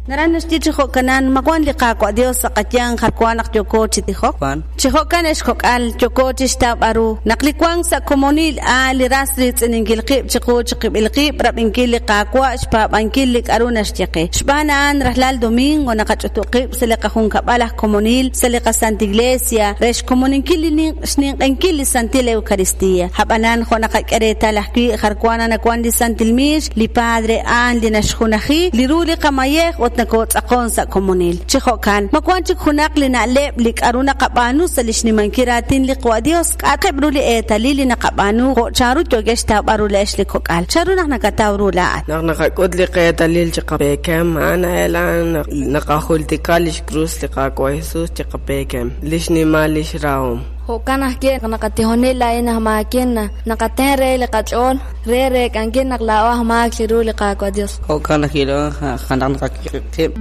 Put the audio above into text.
Naraj naxye chi jo'kanan, ma wank li Qaawa' Dios sa' qayanq jar wa naq yooko chi tijok? Wan. Chi jo'kan ex kok'al, yooko chixtawb'al ru naq li wank sa' komonil a'an li ras riitz'ininkil qib' chiqu chiqib'il qib', rab'inkil li Qaawa', xpaab'ankil li k'a'ru naxye qe. Xb'aan a'an, rajlal domingo naqach'utub' qib' sa' li qajunkab'al aj komonil sa' li qaSanta Iglesia re xkomoninkil li ninq xninq'ehinkil li Santil Eucaristía. A'b'anan, jo' naqak'e reetal ajwi', jar wa nanawan li Santil Miix, li Padre a'an li naxjunaji li ru li qamayej ut nokotz'aqon sa' komonil. Chi jo'kan, ma wan chik junaq li na'leb' li k'a'ru naqab'aanu sa' li xnimankil raatin li Qawa' Dios? K'a'aqeb' ru li eetalil li naqab'aanu jo' chanru yookex xtawb'al ru laa'ex li kok'al? Chanru naq nakataw ru laa'at? Naq naqak'ut li qeetalil chi qapeekem, a'an a'elan naq naqajultika lix krus li Qaawa' Jesus chi qapeekem, lix nimal lix rahom. Jo'kan ajwi' naq naqatijoni laa'in aj maakin, naqaten re li qach'ool re reek'ankil naq laa'o aj maak chiru li Qaawa' Dios. Jo'kan ajwi' naq naqak'e qib'.